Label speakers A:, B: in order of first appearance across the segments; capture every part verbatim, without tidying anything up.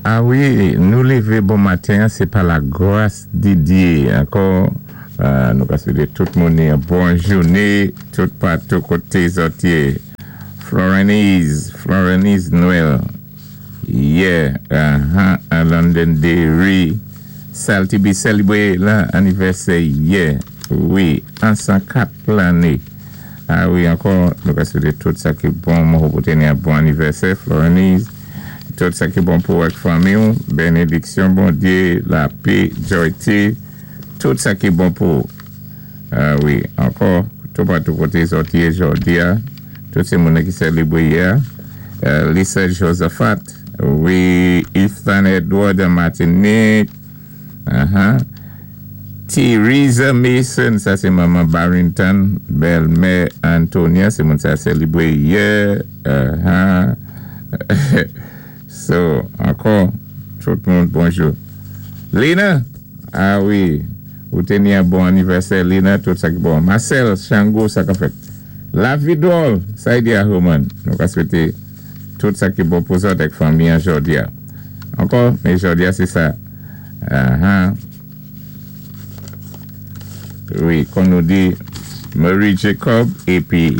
A: A wi, nou lévé bon maten, sé pa la gwas di Diyé. Ankò, euh, nou ka swété tout moun yon bon jouné, tout patou koté zòt yé. Florenise, Florenise Noël. Yeah, uh-huh, à Londonderry. Salty B sélébwé anivèsè yè. Wi, an san kat lanné. A wi, ankò, nou ka swété tout sa ki bon, mwen pou téni yon bon anivèsè, Florenise. Tout sa ki bon pou ak fanmi, bénédiksyon, Bondyé, lapè, joyté, tout sa ki bon pou. A wi, ankò, tout patou koté zòt yé jòdi a, tout sé moun ki sélébwé yè. Euh, Lisa Josephat, wi, Ethan Edward de Martinique, uh-huh. Theresa Mason, sa sé manman Barrington, bèlmè Antonia, sé moun sa sélébwé yè. Uh-huh. So, ankò, tout moun, bonjou. Lina, a wi, ou téni yon bon anivèsè, Lina, tout sa ki bon. Marcel Chango, sa ka fèt. La Vidol, sa y di a Roman. Nou ka swété tout sa ki bon pou zòt ak fanmi an jòdi a. Ankò, men jòdi a, sé sa. Uh-huh. Wi, kon nou di Marie Jacob, épi,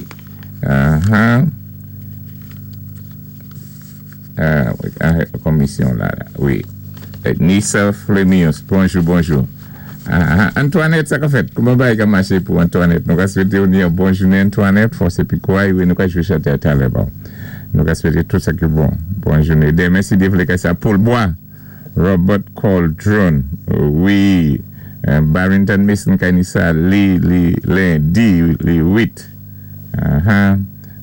A: uh-huh. Euh, komisyon la, wi. Nissa Flemius, bonjou, bonjou. Ah, Antoinette, sa ka fèt? Kouman bagay ka maché pou Antoinette? Nou ka swété ou ni yon bon jounen, Antoinette, fòs épi kouray, wi, nou ka jwé chanté talè, bon. Nou ka swété tout sa ki bon. Bon jounen. Denmen, si Dye vlé ka sa, Paul Bois, Robert Cauldron, wi, Barrington Mason kay ni sa, li, li, lendi, li wit. Ah,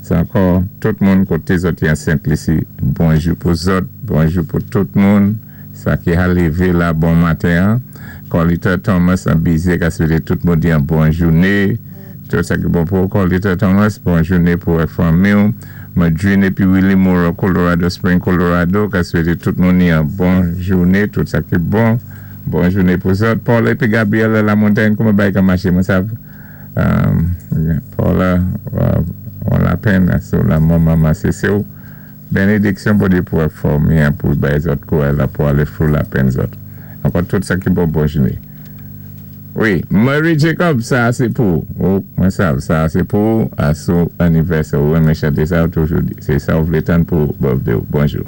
A: Se ankò, tout moun koté zòt an Sent Lisi, bonjou pou zòt, bonjou pou tout moun, sa ki a lévé la bon maten. Colita Thomas an Bizye ka swété tout moun di yon bon jouné. Tout sa ki bon pou Colita Thomas, bon jouné pou fanmi. Madrine épi Willie Moore, Colorado Spring, Colorado, ka swété tout moun di yon bon jouné, tout sa ki bon. Bon jouné pou zòt. Paul épi Gabriel La Montagne, kouman bagay ka maché, mwen sav. Paula, on la penn sou lanmò manman Sese ou. Bénédiksyon pou di pou fanmi pou bay zòt kouray la pou alé through la penn zòt. Ankò tout sa ki bon, bon jouné. Wi, Marie Jacob, sa sé pou. Oh, mwen sav, sa sé pou asou anivèsè ou renmen chanté sa ou toujou di. Sé sa ou vlé tann pou birthday ou. Bonjou.